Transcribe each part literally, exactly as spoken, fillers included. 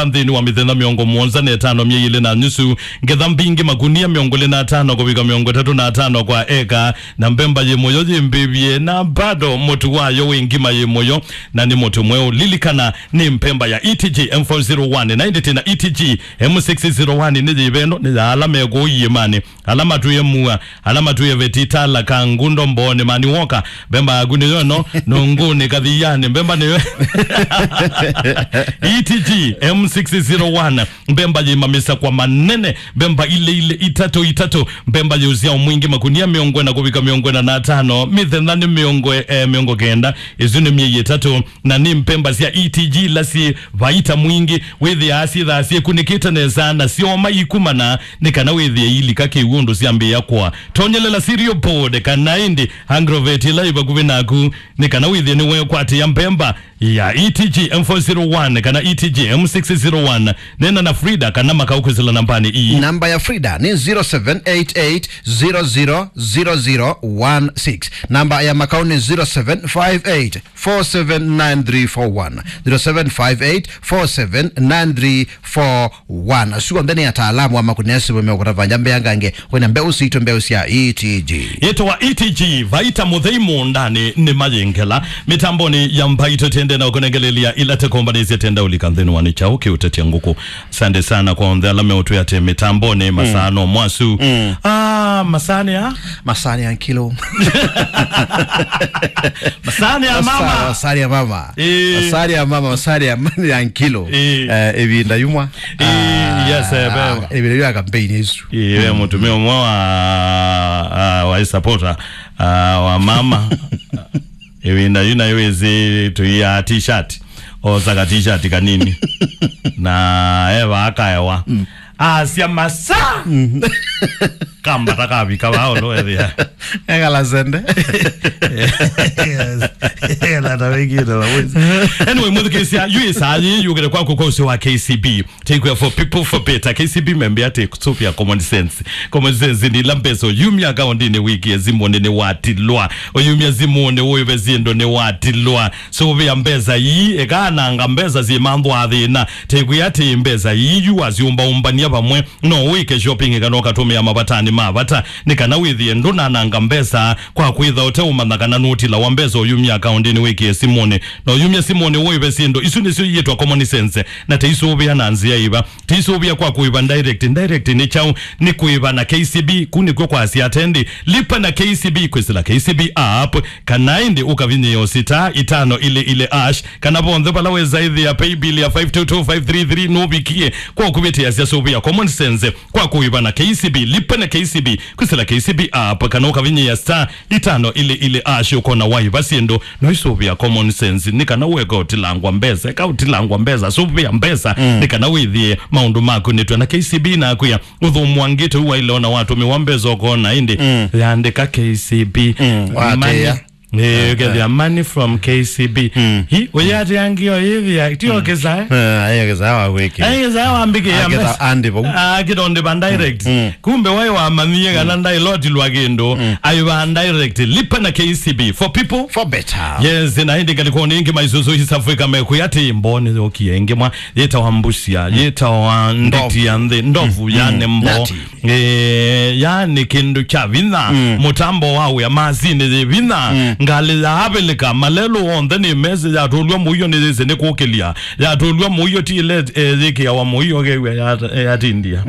nthĩnĩ wa mĩthenya mĩongo mũonza na ĩtano, myei ĩlĩ na nusu, ngetha mbingĩ, makunia mĩongo ĩlĩ na atano kũvika mĩongo ĩtatũ na atano kwa eka, na mbemba yĩ mũyo yĩmbĩvye, na bado mũtu wayo wĩ ngima yĩ mũyo, na nĩ mũtu mweũ. Lilikana, nĩ mbemba ya E T G M four zero one, na ĩndĩ twĩ na E T G M six zero one, nĩ yĩveno, nĩ ya ala me kũu iĩmanĩ, ala matwĩe mua, ala matwĩe veti, tala, kangundo, mbooni, mani woka. Mbemba yaku nĩyo ĩno, nũngũnĩ, kathianĩ, mbemba nĩyo. E T G M six zero one, mbemba yĩ mamisakwa manene, mbemba ile ile, itatũ itatũ, mbemba yĩ ũsyao mwingĩ, makunia mĩongo ĩna kũvika mĩongo ĩna na atano, mĩthenya nĩ mĩongo, eh, mĩongo kenda, ĩsu nĩ myei ĩtatũ, na nĩ mbemba sya E T G ila syĩ vaita mwingĩ, wĩthĩaa syĩthaa syĩkunĩkĩte nesa na syoma ikumana, nĩ kana wĩthĩe ilika kĩw'ũ ũndũ syambĩĩa kũa. Tonyelela cereal board kana ĩndĩ agrovet ĩla ĩ vakuvĩ naku, nĩ kana wĩthĩe nĩwekwatĩĩa mbemba ya E T G M four zero one kana E T G M six zero one. Neena na Frida kana Makau kwĩsĩla nambanĩ ii. Namba ya Frida nĩ zero seven eight eight zero zero zero zero one six. Namba ya Makau nĩ zero seven five eight four seven nine three four one, zero seven five eight four seven nine three four one. Asu onthe nĩ ataalamu wa makũnia simũ meũkũtavany'a mbeangange wĩna mbeũ sitũ, mbeũ sya E T G. Yĩtawa E T G, vaita mũthei mũũndanĩ nĩ mayĩngela. Mĩtambonĩ ya mbaitũ tende na ũkũnengelelia ila tekombanĩsya tenda ũlika nthĩnĩ wa nĩ kyaũ kĩũtetya ngũkũ. Asante sana kwa onthe ala meũtwĩa atĩ mĩtambonĩ masaa no mwasu. Mm. Ah, masaa nĩ a? Masaa nĩ a nkilo. Masaa nĩ a mama. Masaa nĩ a mama. Eh. Masaa nĩ a mama, masaa nĩ a ma-, ya nkilo. Eh. Eh, ĩvinda yumwa. Eh, ah, yes, eh, ah, ĩvinda ya kampeni isu. Eh, we mũtumĩa ũmwe wa, ah, wa supporter, ah, wa mama. Ĩvinda yu nayo wĩsĩ tũiaa t-shirt, osa ka t-shirt kanini. Na eva akaewa. Mm. Asya masa. Mm. Kambata kavika vaa ũlũ ethĩa. Ekala sende. Yes. Ekala ta wĩkĩte la wĩsĩ. Anyway, mũthikĩsya, yu ĩsaa yĩ yũkĩte kwaku kwa ũsĩ wa K C B. Take care for people for better. K C B membe atĩ kũsũvĩa common sense. Common sense nĩ ila mbesa ũyumya akaũndinĩ wĩkĩe simũnĩ nĩwatilwa. Ũyumya simũnĩ ũĩve syĩndũ nĩwatilwa. Sũvĩa mbesa ii, ĩkaananga mbesa syĩmanthwa thĩna. Tekwĩa atĩ mbesa ii yu wasyũmbaũmbany'a vamwe, no wĩke shopping kana ũkatũmĩa mavatanĩ ma vata, nĩ kana wĩthĩe ndũnananga mbesa kwa kwĩtha ũteũmanya kana nũtilawa mbesa ũyumya akaũndinĩ wĩkĩe simũnĩ. Na ũyumya simũnĩ ũĩve syĩndũ. Isu nĩsyo iĩtwa common sense, na teisũvĩa na nzĩa ĩva. Teisũvĩa kwa kũĩva direct. Direct nĩ kyaũ? Nĩ kũĩva na K C B. Ku nĩkw'o kwasya atendĩ, lipa na K C B kwĩsĩla K C B app, kana ĩndĩ ũkavinyĩĩa star itano ili ili hash, kana vonthe vala wĩsa ĩthĩa paybill ya five two two five three three nũvikie. Kwa kũvĩtĩasya sũvĩa common sense kwa kũĩva na K C B, lipa na K C B kwĩsĩla K C B app, kana ũkavinyĩĩa star itano ili ili hash, ũkona waĩva syĩndũ. No isũvĩa common sense, nĩ kana weka ũtilangwa mbesa, eka ũtilangwa mbesa, sũvĩa mbesa, mm, nĩ kana wĩthĩe maũndũ makunĩtwe na K C B na akwĩa ũthũmũa ngĩte ũu waile ona watũmĩwa mbesa ũkona ĩndĩ, mm, yandĩka K C B. Mm, money. Watĩa. Eh, ũkethĩa money from K C B. Mm. Hi, ũyatĩa ngĩo yĩthĩa, ti okĩsa, eh? Eh, ayo kĩsa wa gwĩkĩa. Ayo kĩsa wa mbĩkĩa. Akĩtha mbesa. Andi vau. Ah, kĩtondĩ va direct. Mm. Kumbe waĩ wamanyie kana, mm, ndailotilwa kĩndũ. Mm. Aiva direct. Lipa na K C B. For people. For better. Yes, na ĩndĩ ngalĩkonĩ ĩngĩ maisusu East Africa mekwĩa atĩ mboo nĩyokie ĩngĩ mwa. Yĩtawa mbusya, mm, yĩtawa nditi ya nthĩ, ndovu, mm, yani, mm, mboo. Nyati. Eh, yani kĩndũ kya vinya, mm, mũtambo wa wĩa, masini yĩ vinya, mm, ngalĩ ya avilika, malelũ onthe nĩ mesĩ, yatũlw'a mũio nĩ yĩsĩ nĩ kũkĩlya, yatũlw'a mũio ti ile, eh, yĩkĩawa mũio kew'a ya, eh, yatindia.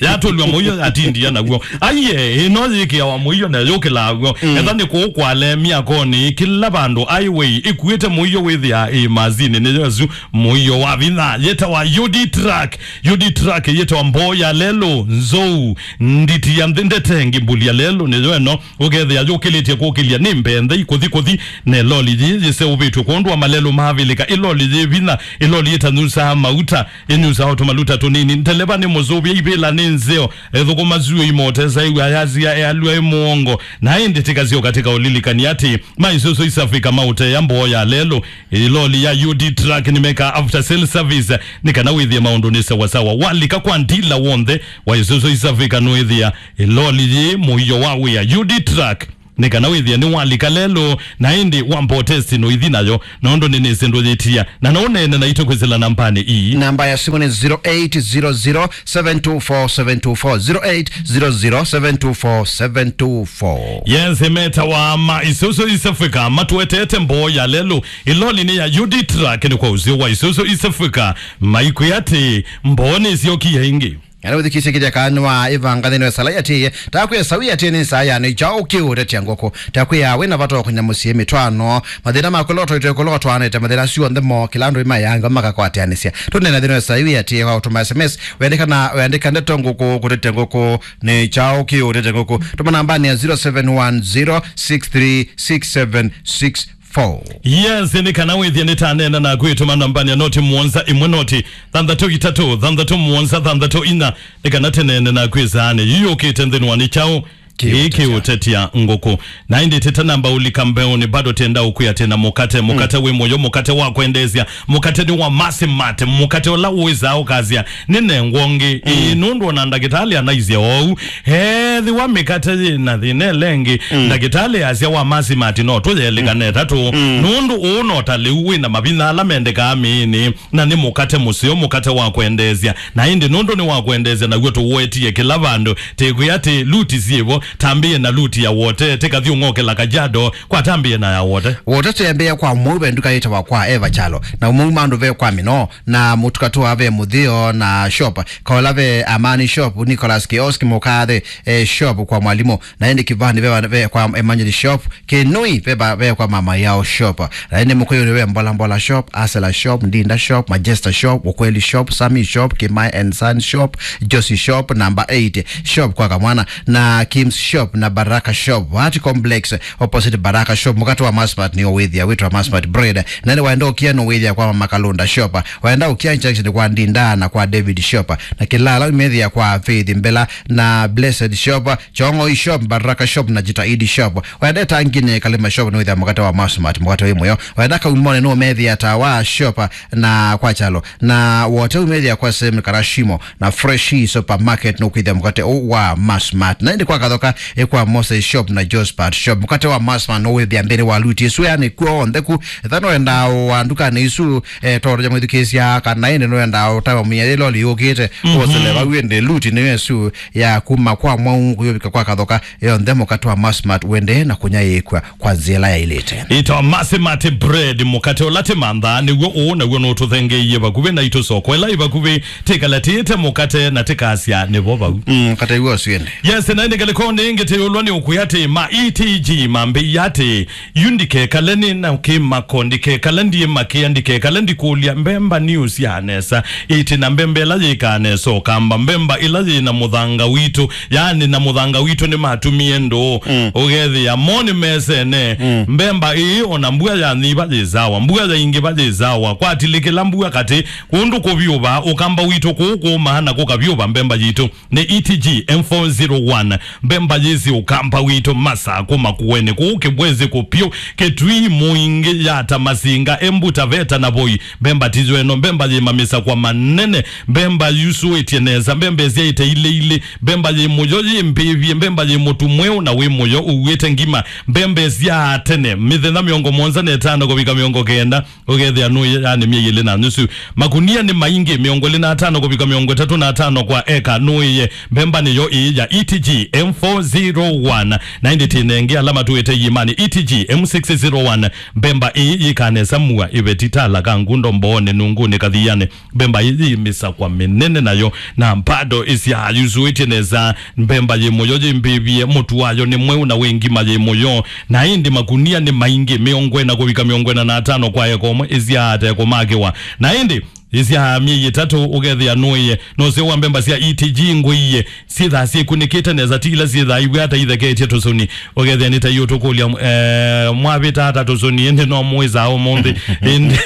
Yatũlw'a mũio yatindia naw'o. Aiye, ĩno yĩkĩawa mũio na yũkĩlaa w'o. Mm. Etha nĩ kũu kwale myakonĩ, kĩla vandũ highway ĩkuĩte mũio wĩthĩa ĩ masini nĩ Yesu. Mũio wa vinya yĩtawa U D truck. U D truck yĩtawa mboo ya lelũ, nzou, nditi ya nthĩ, ndetengi, mbuli ya lelũ nĩyo ĩno. Ũkethĩa yũkĩlĩtye kũkĩlya nĩ mbee nthei kũthi kũthi, na ĩloli yĩĩ yĩseũvĩtw'e kwondũ wa malelũ mavilĩka. Ĩloli yĩ vinya, ĩloli ĩtanyusaa mauta, ĩnyusaa o tũmaluta tũnini. Ndeleva nĩ mũsũvĩa, ivĩla nĩ nzeo, ethũkũma syũa imotesa ĩw'a yasia ealw'a ĩ mũongo. Na ĩndĩ tĩkasyoka tĩkaũlilikany'a atĩ maisusu East Africa maũteea mboo ya lelũ. Ĩloli ya U D truck nĩmekaa after sale service nĩ kana wĩthĩe maũndũ nĩ sawasawa. Walika kwa ndila w'onthe wa Isuzu East Africa nũĩthĩa ĩloli yĩ mũio wa wĩa. U D truck nĩ kana wĩthĩe nĩwalika lelũ, na ĩndĩ wamba ũtesti noithi nayo, nũndũ nĩnĩsĩ ndũyĩtia, na no ũneene naitũ kwĩsĩla nambanĩ ii. Namba ya simũ nĩ zero eight zero zero seven two four seven two four, zero eight zero zero seven two four seven two four. Yes, metawa ma Isuzu East Africa matũetete mboo ya lelũ, ĩlolinĩ ya U D Truck nĩ kwa ũseo wa Isuzu East Africa, maikwĩa atĩ mboo nĩsyokie ĩngĩ. Kana ũthikisye kĩtheka nĩ wa ĩvanga nthĩnĩ wa ĩsala ĩatĩĩe. Takwĩa sawi atĩ nĩ saa ya nĩ kyaũ kĩũtetya ngũkũ. Takwĩa wĩ na vata wa kũnyamũsie mĩtwaano. Mathĩna maku loto itwe kũlotwanĩte mathĩna asu onthe mo kĩla andũ imayanga makakwateanĩsya. Tũnena nthĩnĩ wa sawi atĩĩe kwa ũtũma S M S. Wendeka na wendeka ndeto ngũkũ kũtetya ngũkũ nĩ kyaũ kĩũtetya ngũkũ. Tũma nambanĩ ya zero seven one zero six three six seven six four. Yes, nĩ kana wĩthie nĩtaneena naku ĩtũma nambanĩ ya noti mũonza ĩmwe noti thanthatũ itatũ thanthatũ mũonza thanthatũ inya, nĩ kana tĩneene naku ĩsaanĩ yĩũkĩte nthĩnĩ wa nĩ kyaũ kĩũtetya ngũkũ. Na ĩndĩ tĩta namba ũlika mbeũnĩ, bado tenda ũkwĩa tena mũkate, mũkate wĩ mũyo, mũkate wa kwendeesya, mũkate nĩ wa Masimati, mũkate ũla ũĩsaa ũkasya, nĩnengwa ũngĩ. Ĩĩ, nũndũ ona ndakĩtalĩ anaisye oou, ethĩwa mĩkate yĩ na thĩna ĩla ĩngĩ, ndakĩtalĩ asya wa Masimati no tũyelĩkane ĩtatũ. Nũndũ ũũ no ta lĩu wĩ na mavinya ala mendekaa mĩĩnĩ, na nĩ mũkate mũseo, mũkate wa kwendeesya. Na ĩndĩ nũndũ nĩ wa kwendeesya, naw'o tũũetie kĩla vandũ, tĩkwĩa atĩ luti syĩvo, tambĩĩe na luti ya Wote, tĩkathi ũng'okela Kajiado, kwa tambĩĩe na ya Wote. Wote tembea kwa Mou ve nduka yĩtawa kwa Eva Kyalo, na Mou mandũ ve kwa Mino, na Mũtuka tũa ve Mũthĩo na shop, Kaola ve Amani shop, Nicholas Kiosk Mũkathe, eh, shop kwa Mwalimu, na ĩndĩ Kĩvani ve, ve kwa Emmanuel shop, Kĩnui ve, ve kwa Mama Yao shop, na ĩndĩ Mũkũyũnĩ ve Mbola Mbola shop, Asela shop, Ndinda shop, Majesta shop, Ukweli shop, Sami shop, Kimai and Son shop, Josie shop, number eight shop kwa Kamwana, na Kim's shop na Baraka shop, Art Complex, opposite Baraka shop. Mũkate wa Masmart nĩ ũwĩthĩa wĩtwa Masmart bread. Na nĩ waenda ũkia no wĩthĩa kwa Mama Kalunda shop. Waenda ũkia injection kwa Ndinda na kwa David shop. Na kĩla ala ũmethĩa kwa Faith Mbela na Blessed shop, Chong'oi shop, Baraka shop na Jitahidi shop. Waenda Tangine Kalima shop nĩ wĩthĩa mũkate wa Masmart, mũkate wĩ mũyo. Waenda Kaumone no methĩa Tawa shop na kwa Chalo. Na Wote umethĩa kwa Sem Karashimo. Na Fresh Supermarket nũkwĩthĩa mũkate ũũ wa Masmart. Na ĩndĩ kwa Kathoka, ĩ kwa Moses Shop na Josphat Shop. Mũkate wa Masmart nũwĩthĩa mbĩnĩ wa luti ĩsu, yani kw'onthe ku. Ethĩwa nũendaa wa ndukanĩ isu, eh, tondũ ya mwĩthukĩĩsya kana ĩndĩ nũendaa ũtawa mĩya yĩ loli yũkĩte, wosele vau ĩndĩ luti nĩyo ĩsu ya kuma kwa Mwaũ kũyũvika kwa Kathoka, yonthe mũkate wa Masmart wendee na kũnyaĩĩkw'a kwa nzĩa ĩla yaĩlĩte. Ĩtawa Masimati bread, mũkate ũla tĩmanthaa, nĩw'o ũũ, naw'o nũtũthengeeie vakuvĩ naitũ soko ĩla ĩ vakuvĩ, tĩkalatĩte mũkate na tĩkasya nĩvo vau. Mm, mũkate w'o ũsu ĩndĩ. Yes, na ĩndĩ ngelekoni ĩngĩ tĩũlwa nĩ ũkwĩa atĩ ma E T G mambĩie atĩ, yu ndikekale nĩ na kĩmako, ndikekale ndiĩmakĩa, ndikekale ndikũlya, mbemba nĩũsyaa nesa, ĩtĩ na mbemba ĩla yĩkaa nesa ũkamba, mbemba ĩla yĩ na mũthanga witũ, yaani na mũthanga witũ nĩmatumie ndũũ. Mm. Ũkethĩa mo nĩmesene. Mm. Mbemba ĩĩ ona mbua yanyiva yĩ sawa, mbua yaingĩva yĩ sawa, kwatilĩkĩla mbua katĩ, kũndũ kũvyũva, ũkamba witũ kũũ kũũmaa na kũkavyũva mbemba yitũ. Nĩ E T G M four zero one, mbemba yĩsĩ ũkamba witũ, Masakũ, Makueni, kũũ Kĩbwezi, Kũpyũ, Kĩtui, Mũingĩ, Yata, Masinga, Embu, Taveta na Voi. Mbemba tiyo ĩno, mbemba yĩ mamĩsakwa manene, mbemba yusũĩtye nesa, mbemba ĩsyaĩte ilĩ ilĩ, mbemba yĩ mũyo yĩ mbĩvye, mbemba yĩ mũtu mweũ na wĩ mũyo ũuĩte ngima, mbemba ĩsyaa tene, mĩthenya mĩongo mũonza na ĩtano kũvika mĩongo kenda, ũkethĩa nũĩye, yani myei ĩlĩ na nusu. Makunia nĩ maingĩ, mĩongo ĩlĩ na atano kũvika mĩongo ĩtatũ na atano kwa eka, nũĩye. Mbemba nĩyo ĩĩ ya E T G M four zero one. Na ĩndĩ tĩnenge ala matũĩte iĩmanĩ, E T G M six zero one. Mbemba ĩĩ yĩkaa nesa mua, ĩveti, Tala, Kangundo, Mbooni, Nunguni, Kathiani. Mbemba ĩĩ yĩ mĩsakwa mĩnene nayo, na mbado ĩsyaa yusũĩtye nesa. Mbemba yĩ mũyo yĩ mbĩvye, mũtu wayo nĩ mweũ na wĩ ngima yĩ mũyo. Na ĩndĩ makunia nĩ maingĩ, mĩongo ĩna kũvika mĩongo ĩna na atano kwa eka ũmwe, ĩsyaa ate kũmakĩwa. Na ĩndĩ ĩsyaa myei ĩtatũ, ũkethĩa nũĩye. Nũseo wa mbemba sya E T G ngũie, syĩthaa syĩkunĩkĩte nesa, ti ila syĩthaa iw'e ata itheketye tũsũni. Ũkethĩa nĩ ta iũtũkũlya, eh, mwavĩta ata tũsũni, ĩndĩ no mwĩsaa ũmũnthĩ. Ĩndĩ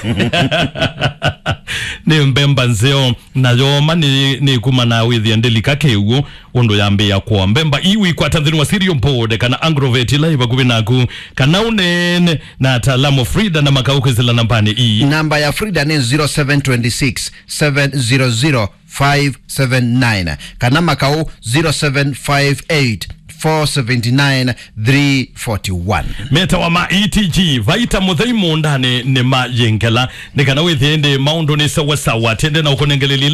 nĩ mbemba nzeo. Na yooma nĩ, nĩ kuma na wĩthĩa ndĩlika kĩw'ũ ũndũ yambĩĩa kũa. Mbemba ii ũikwata nthĩnĩ wa Cereal Board kana Agrovet ila yĩ vakuvĩ naku, kana ũneene na ataalamu Frida na Makau kwĩsĩla nambanĩ ii. Namba ya Frida nĩ zero seven twenty six, seven zero zero, five seven nine, kana Makau zero seven five eight, four seventy nine three forty one. Metawa ma E T G, vaita mũthei mũũndanĩ nĩ ma yĩngela. Nĩ kana wĩthĩe ĩndĩ maũndũ nĩ sawasawa, tende na ũkũnengelelile